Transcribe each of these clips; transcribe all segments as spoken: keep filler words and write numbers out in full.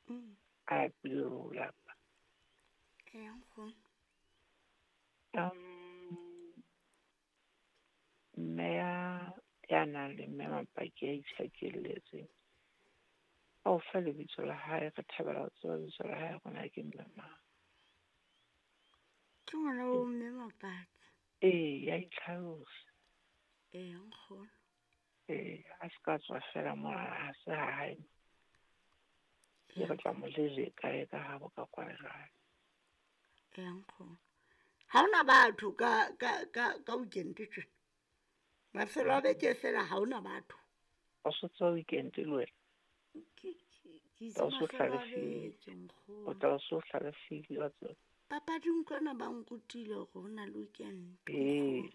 Mm. A lapile le ho lapa. Eya nkgono. Um, mme ya, ya nang le mme Mapaki ya itjhakelletseng. A o fa lebitso la hae, re thabela ho tseba lebitso la hae hore na ke mme mang. Ke ngwana wa mme Mapaki. Ee, ya itlhalosa. Eya nkgono. Ee, a se ka tswa fela mona ha se ha hae. Ke re tla mo leleka e ka habo ka kwana jwale. Eya nkgono. Ha hona batho ka ka ka ka weekend tjena. Mafelo a beke fela ha hona batho. O so tswa weekend le wena? Ke ke ke itse Tla o so mafelo a hlalefile. beke O nkgono. tla o so hlalefile wa tseba. Papading kwana ba nrutile hore ho na le weekend. Ee.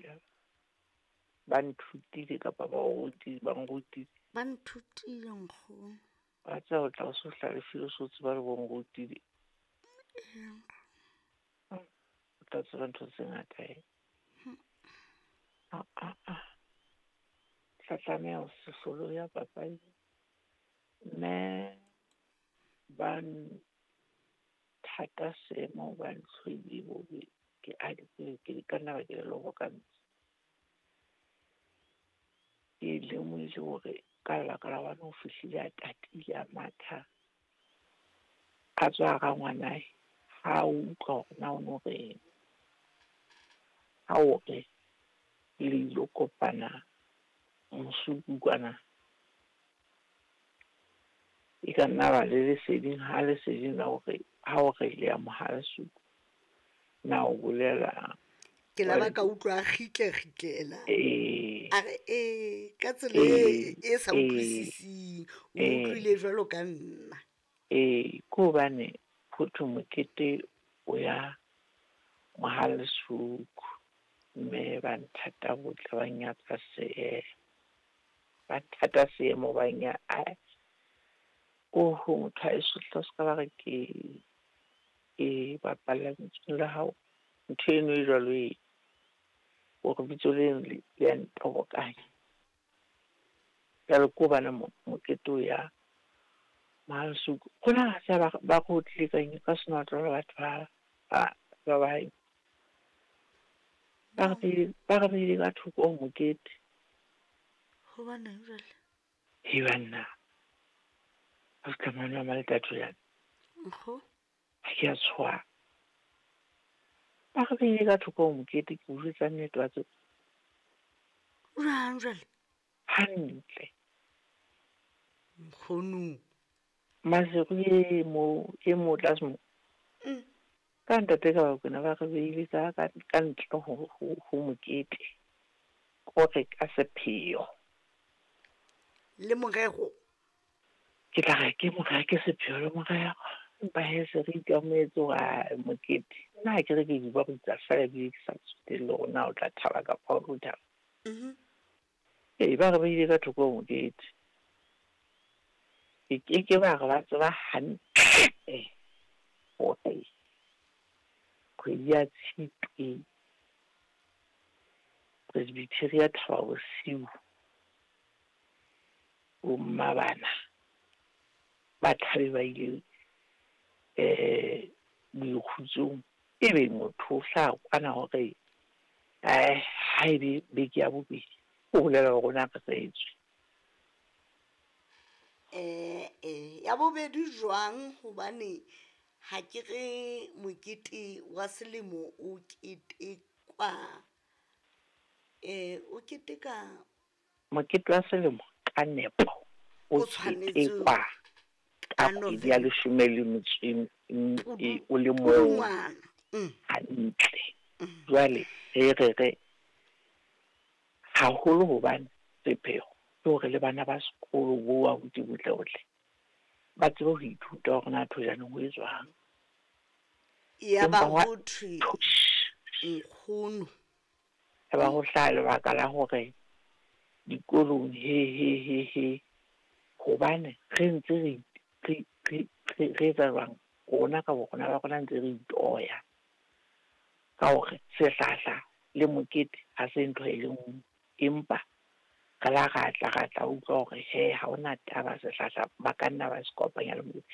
Ba nthutile kapa ba o rutile, ba nrutile. Ba nthutile nkgono. Wa tseba o tla o so hlalefile o so tseba le bo nrutile. Eya nkgono. O tla tseba ntho tse ngata he. Ah ah ah. Tla tlameha ho se hlolo ya papadi. Mme ba nthata seemo ba ntlhoile bobe ke a ke ke ka nna ba ke le lobokantse. Ke lemohile hore ka lebaka la hobane o fihlile a tatile a matha. A tswa hara ngwanae, ha o utlwa hore na o no reng. Ha o re le ilo kopana Mosupung kwana. E ka nna ba le leseding ha leseding la hore ha o re le ya Mohalesuku na o bolela. Ke la ba ka utlwa a kgitle kgitlela. Ee. A re ee, ka tsela e e sa Ee. utlwisising. O Ee. utlwile jwalo ka nna. Ee, ke hobane ho thwe mokete o ya Mohalesuku mme ba nthata botle ba nyatsa seemo. Ba nthata seemo ba nya a oho motho ha eso hle o ska ba re ke ke bapalla lebitsong la hao. Ntho eno e jwalo e hore bitso leno le le ya ntobokanya. Jwale ke hobane mokete o ya Mohalesuku. Rona ha se ba ba re otlile ka eng ka senotlolo batho ba ba ba ba ba re beile ba re beile ka thoko ho mokete. Hobaneng jwale? He banna. A ska mane wa Maletathojana. Nkgono. Ha ke a tshoha. Ba re beile ka thoko ho mokete ke o jwetsa nnete wa tseba. Jwang jwale? Hantle. Nkgono. Maseru e mo e mo tlase mo. Mm. Ka ntate ka Bakwena ba re beile ka ka ka ntle ho ho ho mokete. Kore ka sepheo. Le morero. Ke tla re ke morero ke sepheo le morero. Empa he se re ikamohetse hore mokete. Nna ha ke re ke di ba rutsa fela ebile ke sa tsotelle hore na o tla thaba kapa ha o tlo thaba. Mhm. Ee, ba re beile ka thoko ho mokete. Ke ke ke ba re ba tseba hantle hore kgwedi ya Tshitwe Presbytery ya Thaba Bosiu bo mma bana ba tlabe ba ile eh boikgutsong ebe motho o hlaha kwana hore eh ha ebe beke ya bobedi o bolela hore o na reretswe. Eh eh ya bobedi jwang hobane ha ke re mokete wa selemo o ketekwa eh o keteka mokete wa selemo ka nepo o O tshwanetse ketekwa ka ka kgwedi ya November. leshome le metso e e o le mong Pudungwana. Mm. hantle. Jwale re re re haholo hobane sepheo ke hore le bana ba sekolo bo abuti botle botle ba tsebe ho ithuta hore na thojaneng ho etswang. Ya ba Empa wa- ho thwe nkgono. Ya ba ho hlaha lebaka la hore dikolong he he he he hobane re ntse re re re re re etsa jwang rona ka bo rona ba rona ntse re itoya ka hore sehlahla le mokete ha se ntho e le nngwe empa re la ra tla ra tla utlwa hore he ha hona taba sehlahla ba ka nna ba se kopanya le mokete.